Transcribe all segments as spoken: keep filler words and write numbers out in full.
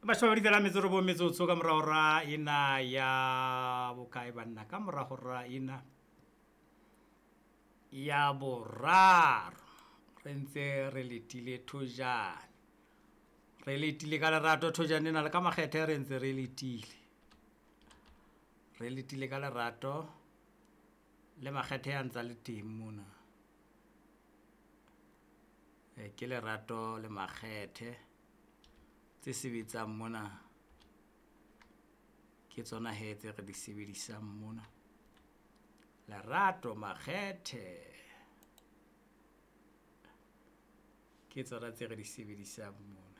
Mashome a mabedi le metso e robong metsotso ka mora hora ena ya bokae banna, ka mora hora ena ya boraro re ntse re letile thojane, re letile ka lerato thojane ena le ka makgethe, re ntse re letile, re letile ka lerato le makgethe a ntsa le teng mona. E, ke lerato le makgethe tse sebetsang mona, ke tsona he tse re di sebedisang mona. Lerato makgethe ke tsona tse re di sebedisang mona.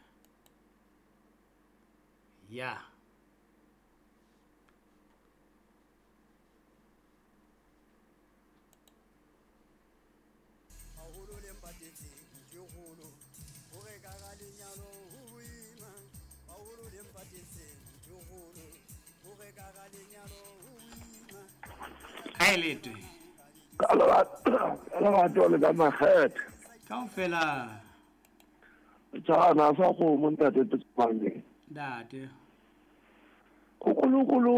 Ya. Haholo le mpatetseng ke kgolo, hore ka ga lenyalo ho boima. Haholo le mpatetseng ke kgolo, hore ka ga lenyalo ho boima. Kae letwe? Ka lerato, ka lerato le ka makgethe. Kaofela. Tjhana sa kgomo ntate Tsepane. Ntate. Kukulukulu.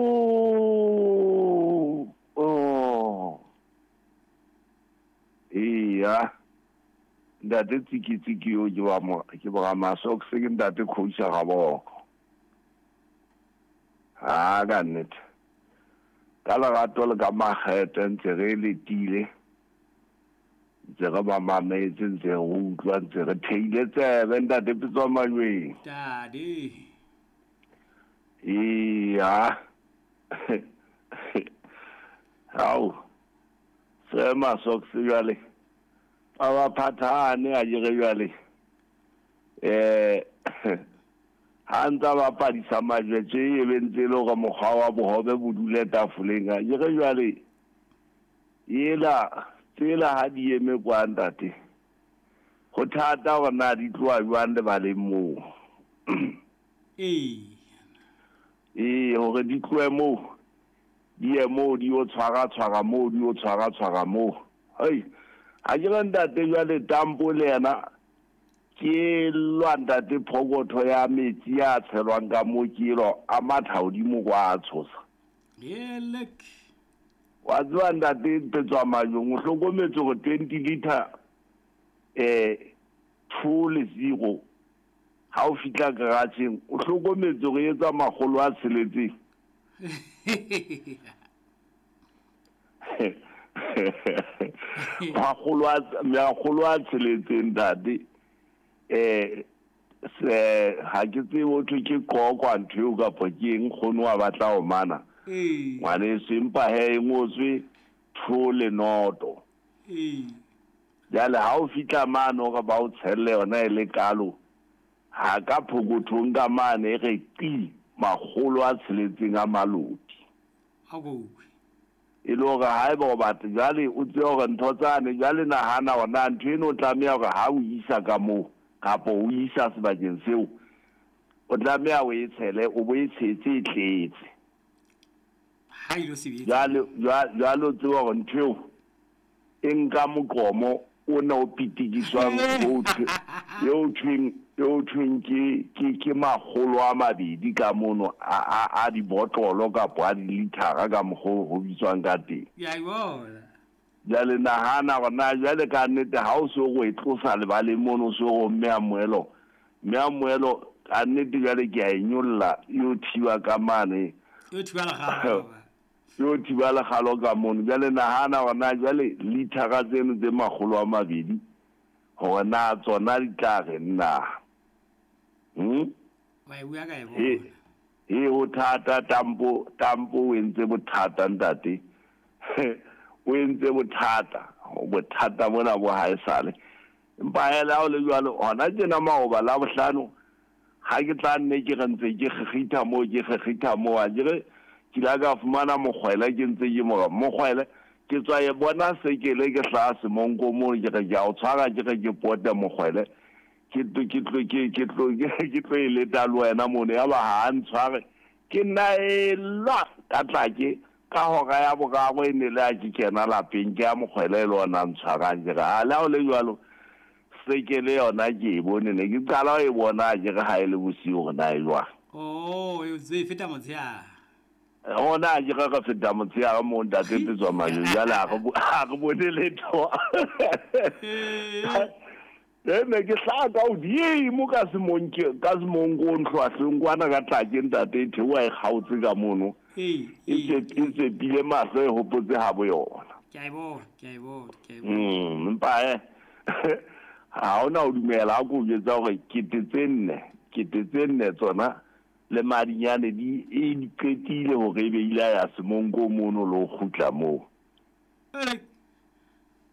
Oh. Iya. Ntate tsiki tsiki yo ke wa mo ke bora maso ke ntate coach ga boko. Ha ka nnete. Ka lerato le ka makgethe ntse re letile. Ntse re ba mametse, ntse re utlwa, ntse re theile tsebe ntate Pitso Majweng. Ntate. Iya. Hao. Se maso ke jwale. Ba ba phathane a jere jwale. Eh ha ntsa ba padisa majwe tje e be ntse le hore mokgwa wa bohobe bo dule tafoleng a jere jwale. Ela tsela ha di eme kwa ntate. Ho thata hore na di tloha jwang lebaleng moo. Ee. Ee, hore di tlohe moo. Di ye moo di o tshwara tshwara moo, di o tshwara tshwara moo. Hei. Ha ke re ntate jwale tampo le yena ke lwa ntate phokotho ya metsi a tshelwang ka moo ke elo a matha hodimo kwa a tshosa. Elek. Wa tseba ntate Petswa Majong, o hlokometse hore twenty liter eh two le zero ha o fihla garage-eng o hlokometse hore e etsa makgolo a tsheletseng. Makgolo a makgolo a tsheletseng ntate. Eh se ha ke tsebe ho thwe ke qokwa ntho eo kapa ke eng kgono wa batla ho mana. Ee. Ngwaneso empa he e ngotswe two le noto. Ee. Jwale ha o fihla mane hore ba o tshelle yona e le kalo, ha ka phokothong ka mane e re qi makgolo a tsheletseng a maloti. Ha go utlwe. E le hore haeba o batla jwale o tsebe hore ntho tsane jwale nahana hore na ntho eno o tlameha hore ha o isa ka moo kapa o isa sebakeng seo o tlameha o e tshele, o bo e tshetse e tletse. Ha ilo sebetsa. Jwale jwale o tsebe hore ntho eo e nka moqomo o na o pitikiswang o thwe eo thweng eo thweng ke ke ke makgolo a mabedi ka mono a a a dibotlolo kapa a dilithara ka mokgwa ho bitswang ka teng. Ya e bona. Jwale nahana hore na jwale ka nnete ha o so o e tlosa lebaleng mono o so o mme a moelo, mme a moelo ka nnete jwale ke a e nyolla e o thiba ka mane. E o thiba lekgalo. E o thiba lekgalo ka mono. Jwale nahana hore na jwale lithara tseno tse makgolo a mabedi hore na tsona di tla re nna. Hmm? Wa e bua ka e bona. E, e ho thata tampo, tampo o entse bothata ntate. O entse bothata, bothata bona bo ha esale. Empa hela ha o le jwalo hona tjena maoba la bohlano ha ke tla nne ke re ntse ke kgekgitha moo ke kgekgitha moo a ke re ke la ka fumana mokgwele ke ntse ke mora mokgwele ke tswa e bona sekele ke hlaha semonko moo ke re ke a o tshwara ke re ke pote mokgwele ke tlo ke tlo ke ke tlo ke tlo e leta le wena mono ya ba ha ntshware ke nna e lwa ka tla ke ka hora ya boraro e ne le a ke kena lapeng ke ya mokgwele le ona ntshwarang ke re ha le ha o le jwalo sekele yona ke e bone ne ke qala ho e bona ke re ha e le bosiu hore na e jwang. Oh, e tse feta motshehare. Ona ke re re feta motshehare mo ntate Petswa Majweng, jwale ha re bone letho. E ne ke hlaha ka hodimo ka semonke ka semonko ntlhwahleng kwana ka tlake ntate e theoha e kgaotse ka mono. E tsepile mahlo e hopotse ha bo yona. Ke a e bona, ke a e bona, ke a e bona. Mm, empa eh ha hona ho dumela ha ko jwetsa hore kete tse nne, kete tse nne tsona le madinyane di e di qetile hore ebe ile ya semonko mono le ho kgutla moo.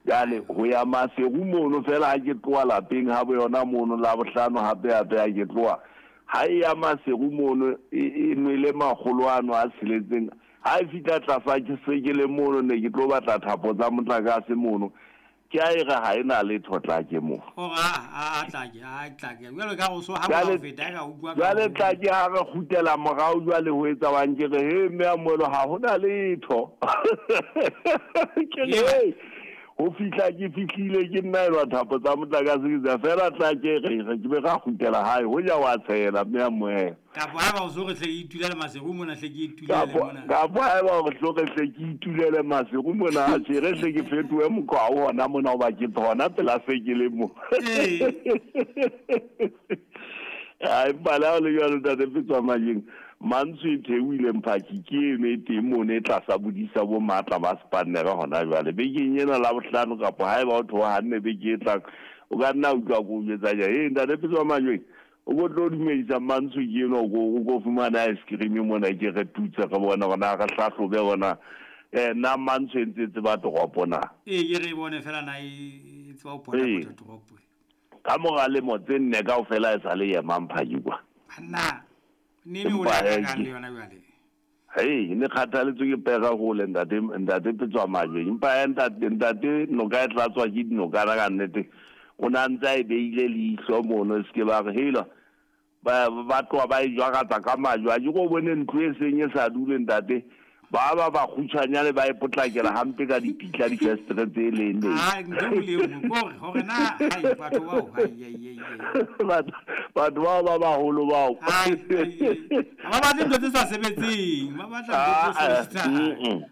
Jwale ho ya Maseru mono fela ha ke tloha lapeng ha bo yona mono la bohlano hape hape ha ke tloha. Ha e ya Maseru mono e nwele makgolo ano a tsheletseng. Ha e fihla tlasa ke se ke le mono ne ke tlo batla thapo tsa motlakase mono. Ke a e re ha e na letho tlake moo. Hore a a tlake, a tlake. Jwale ka go so ha o feta ka utlwa. Jwale tlake ha re kgutlela morao jwale ho etsa wang ke re he mme a moelo ha hona letho. Ke re ho fihla ke fihlile ke nna elwa thapo tsa motlakase ke tsa fela tlake re re ke be ra kgutlela hae ho ja wa tshela mme a moelo. Kapo ha ba o so re hle ke itulele Maseru mona hle ke itulele mona. Kapo ha ba o so re hle ke itulele Maseru mona a tjhe re hle ke fetohe mokgwa o hona mona hoba ke hona pela se ke le mo. Ai bala le jwalo ntate Petswa Majweng. Mantswe e theohile mphaki ke eno e teng mono e tlasa bodisa bo matla ba spannere hona jwale. Bekeng ena la bohlano kapa haeba o theoha hanne beke e tlang o ka nna utlwa ko jwetsa ja he ntate Petswa Majweng o ko tlo dumedisa Mantswe ke eno o ko o ko fumana ice cream mona ke re tutse re bona hore na re hlahlobe bona eh na Mantswe e ntse tseba toropo na. Ee ke re bone fela na e tseba ho pota pota toropo. Ka mora lemo tse nne kaofela e sa le ema mphaki kwa. Banna ne ne o la ka le yona jwale. Hei, ne kgathaletswe ke pega hole ntate ntate Petswa Majweng. Empa ntate ntate noka e tlatswa ke dinokana ka nnete. O na ntse a e beile leihlo mono se ke ba re hela ba ba tloha ba e jwaratsa ka majwe. A ke ko bone ntlo e seng e sa dule ntate. Ba ba ba kgutshwanyane ba e potlakela hampe ka dipitla difestere tse leng leng. Ah, ntho le nngwe kore hore na hai batho bao hai hai hai. Batho bao ba baholo bao. Hai ba batle ntho tse sa sebetseng, ba batla ntho tse sebetsang.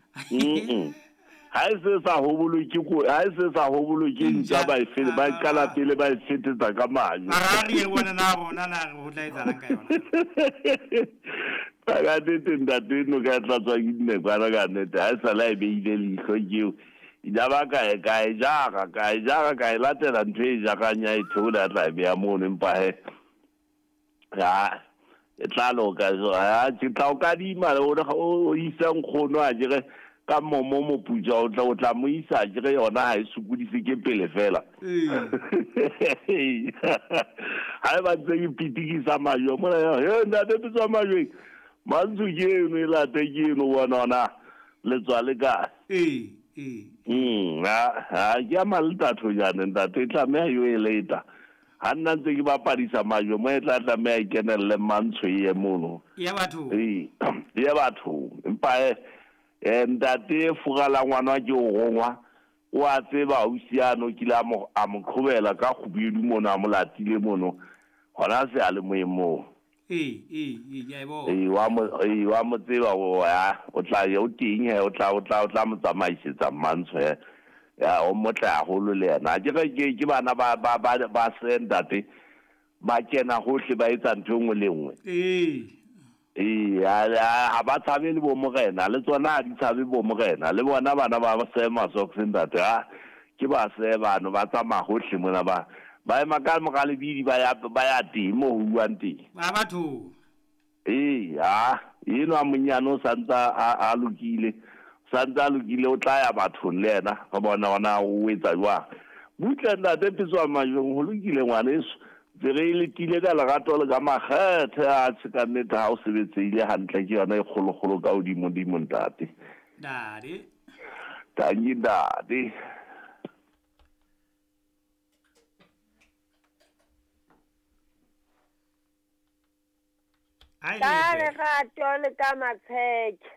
Ha e se sa hobolwe ke ko, ha e se sa hobolwe ke ntja ba e fele ba qala pele ba e fetetsa ka majwe. Mara re e bona na rona na re ho tla etsahalang ka yona. Ka nnete ntate no ka tlatswa ke dinekwana ka nnete ha e sala e beile leihlo ke eo. Ya ba ka e ka e jara ka e jara ka e latela ntho e jarang ya e theola tla e beha mono empa he ya e tla loka ha ke tla o kadima o o isa nkgono a jere ka momo moputsa o tla o tla mo isa jere yona ha e sokodise ke pele fela. Ha e ba ntse ke pitikisa majwe mona he ntate Petswa Majweng. Mantswe ke eno e late ke eno bona ona le tswa le kae. Ee ee. Mm ha ke a malta thojane ntate e tlameha yo e leta. Ha nna ntse ke bapadisa majwe mo e tla tlameha e kenelle Mantswe e ye mono. Ya batho. Ee ya batho empa eh ntate furala ngwana ke o rongwa o a tseba ausiano kile a mo a mo qhobela ka kgubedu mono a mo latile mono hona se a le moemong. Ee ee ee ke a e bona. Ee wa mo ee wa mo tseba o ya o tla ya o teng he o tla o tla o tla mo tsamaisetsa Mantswe ya o motle haholo le yena. Ke re ke ke bana ba ba ba ba se ntate ba kena hohle ba etsa ntho e nngwe le nngwe. Ee. Ee ha ba tshabe le bo morena le tsona ha di tshabe bo morena le bona bana ba se masoks ntate ha ke ba se bano ba tsamaya hohle mona ba ba ema ka mora lebidi ba ya ba ya teng mo ho buang teng. Ba batho. Ee ha eno a monyane o santsa a lokile santsa a lokile o tla ya bathong le yena re bona ona o etsa jwang. Butle ntate Petswa Majweng ho lokile ngwaneso. Tse re letile ka lerato le ka makgethe a tjhe ka nnete ha o sebetsehile hantle ke yona e kgolokgolo ka hodimo dimo ntate. Ntate. Tanki ntate. Ka lerato le ka matsheke.